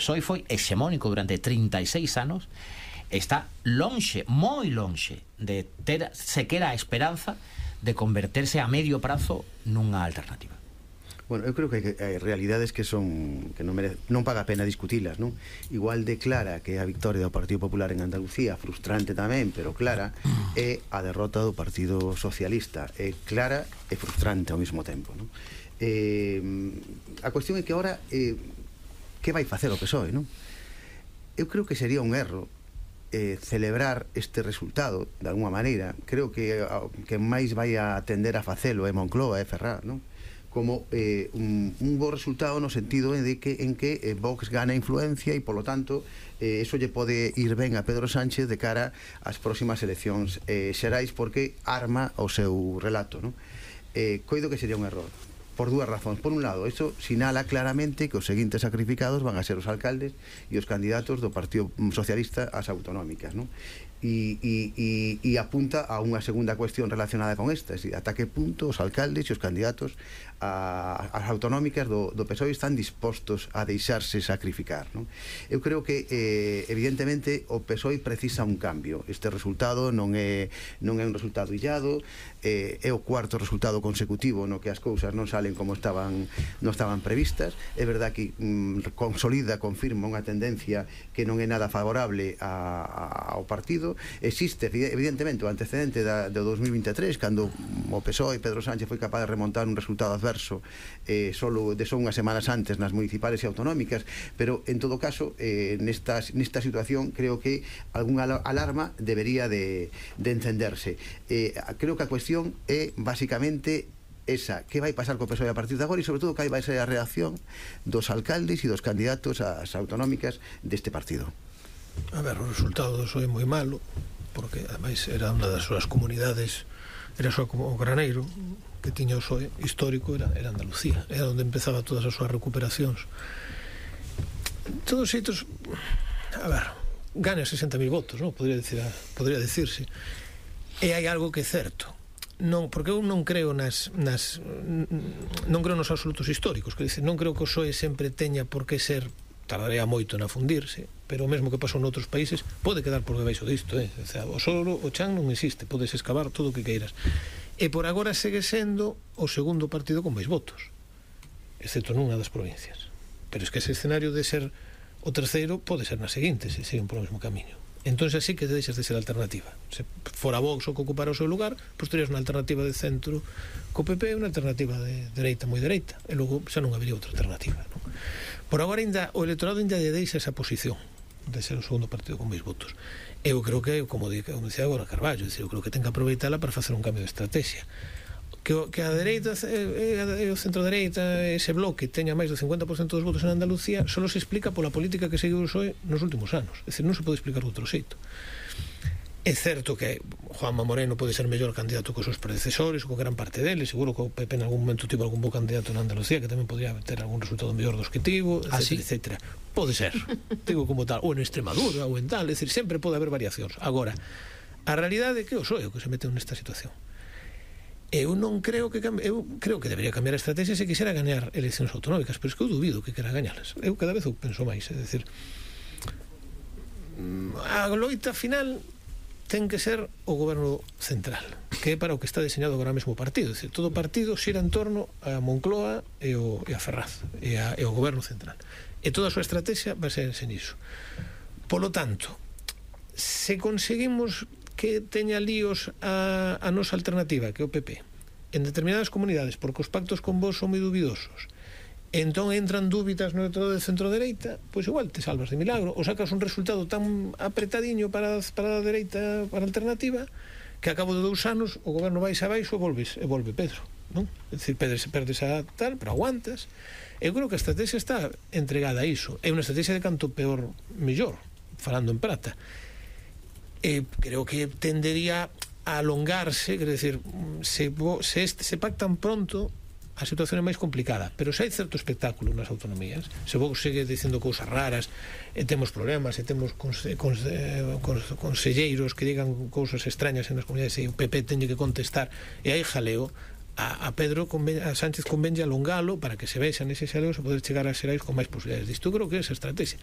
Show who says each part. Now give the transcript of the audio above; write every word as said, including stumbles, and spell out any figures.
Speaker 1: P S O E foi hexemónico durante trinta e seis anos, está lonxe, moi lonxe de ter sequera a esperanza de converterse a medio prazo nunha alternativa.
Speaker 2: Bueno, eu creo que hai realidades que son que non, merece, non paga a pena discutilas, non? Igual de clara que a victoria do Partido Popular en Andalucía, frustrante tamén, pero clara, é a derrota do Partido Socialista, é clara e frustrante ao mesmo tempo, non? Eh, a cuestión é que agora eh, que vai facer o P S O E, non? Eu creo que sería un erro eh, celebrar este resultado de alguma maneira. Creo que que máis vai a tender a facelo é Moncloa e Ferraz, non? Como eh, un, un bo resultado no sentido de que, en que eh, Vox gana influencia e, polo tanto, eh, eso lle pode ir ben a Pedro Sánchez de cara ás próximas eleccións eh, xerais, porque arma o seu relato, non? Eh, coido que sería un error por dúas razóns. Por un lado, eso sinala claramente que os seguintes sacrificados van a ser os alcaldes e os candidatos do Partido Socialista ás autonómicas, non? E, e, e, e apunta a unha segunda cuestión relacionada con esta, es decir, ata que punto os alcaldes e os candidatos a, as autonómicas do, do P S O E están dispostos a deixarse sacrificar, non? Eu creo que eh, evidentemente o P S O E precisa un cambio. Este resultado non é non é un resultado illado, eh, é o cuarto resultado consecutivo no que as cousas non salen como estaban non estaban previstas. É verdad que mm, consolida, confirma unha tendencia que non é nada favorable a, a, ao partido. Existe evidentemente o antecedente da, do dos mil vinte e tres, cando o P S O E e Pedro Sánchez foi capaz de remontar un resultado adverso eh, solo de só unhas semanas antes nas municipales e autonómicas, pero en todo caso eh, nesta, nesta situación creo que algunha alarma debería de, de encenderse. Eh, creo que a cuestión é basicamente esa, que vai pasar co P S O E a partir de agora, e sobre todo que vai ser a reacción dos alcaldes e dos candidatos ás autonómicas deste partido.
Speaker 3: A ver, o resultado do P S O E é moi malo, porque ademais era unha das súas comunidades, era só como o graneiro que tiña o P S O E histórico, era, era Andalucía, era onde empezaba todas as súas recuperacións. En todos os xeitos, a ver, gana sesenta mil votos, non? Podría, decir, podría decirse. E hai algo que é certo, non, porque eu non creo nas, nas non creo nos absolutos históricos, que dice, non creo que o P S O E sempre teña por que ser, tardaría moito en afundirse, pero o mesmo que pasou noutros países pode quedar por debaixo disto, eh? O sea, o solo o chan non existe, podes excavar todo o que queiras, e por agora segue sendo o segundo partido con máis votos, excepto nunha das provincias, pero es que ese escenario de ser o terceiro pode ser nas seguintes se siguen por o mesmo camiño. Entón así que deixas de ser alternativa. Se fora Vox o que ocupara o seu lugar, pois terías unha alternativa de centro co P P e unha alternativa de dereita moi dereita, e logo xa non habería outra alternativa, non? Por agora ainda o electorado ainda lle deixa esa posición de ser o segundo partido con máis votos. Eu creo que, como dicía agora Carballo, eu creo que ten que aproveitala para facer un cambio de estrategia. Que, que a dereita e o centro-dereita, ese bloque teña máis do cincuenta por cento dos votos en Andalucía, só se explica pola política que seguiu o P S O E nos últimos anos. É dicir, non se pode explicar de outro xeito. É certo que Juanma Moreno pode ser mellor candidato que os seus predecesores, ou que gran parte deles. Seguro que o P P en algún momento tivo algún bo candidato en Andalucía que tamén podría ter algún resultado mellor dos que tivo, etcétera, ¿Ah, sí? etcétera. Pode ser, digo como tal, ou en Extremadura ou en tal, é dicir, sempre pode haber variacións. Agora, a realidade é que o P S O E o que se mete nesta situación. Eu non creo que cambie, eu creo que debería cambiar a estrategia se quixera gañar eleccións autonómicas, pero es que eu dubido que quera gañalas. Eu cada vez o penso máis, é dicir, a loita final ten que ser o goberno central, que é para o que está diseñado agora mesmo o partido. É dicir, todo partido xira en torno a Moncloa e, o, e a Ferraz e, a, e o goberno central, e toda a súa estrategia vai ser en iso. Polo tanto, se conseguimos que teña líos a, a nosa alternativa, que é o P P, en determinadas comunidades, porque os pactos con vos son moi dubidosos, entón entran dúbidas no electorado de centro-dereita, pois igual te salvas de milagro, ou sacas un resultado tan apretadiño para, para a dereita, para a alternativa, que a cabo de dous anos o goberno vai xa baixo e volves, e volve Pedro, non? É dicir, Pedro se perdes a tal, pero aguantas. Eu creo que a estrategia está entregada a iso, é unha estrategia de canto peor mellor, falando en prata. Eh, creo que tendería a alongarse, quer decir, se, se, este, se pactan pronto a situación é máis complicada, pero se hai certo espectáculo nas autonomías, se vos segue dicendo cousas raras e temos problemas e temos conse, conse, conse, conselleiros que digan cousas extrañas en as comunidades e o P P teñe que contestar e hai jaleo, a, a Pedro conven, a Sánchez convence alongalo para que se vexa nese xaleo se poder chegar a Xerais con máis posibilidades disto. Eu creo que é esa estrategia,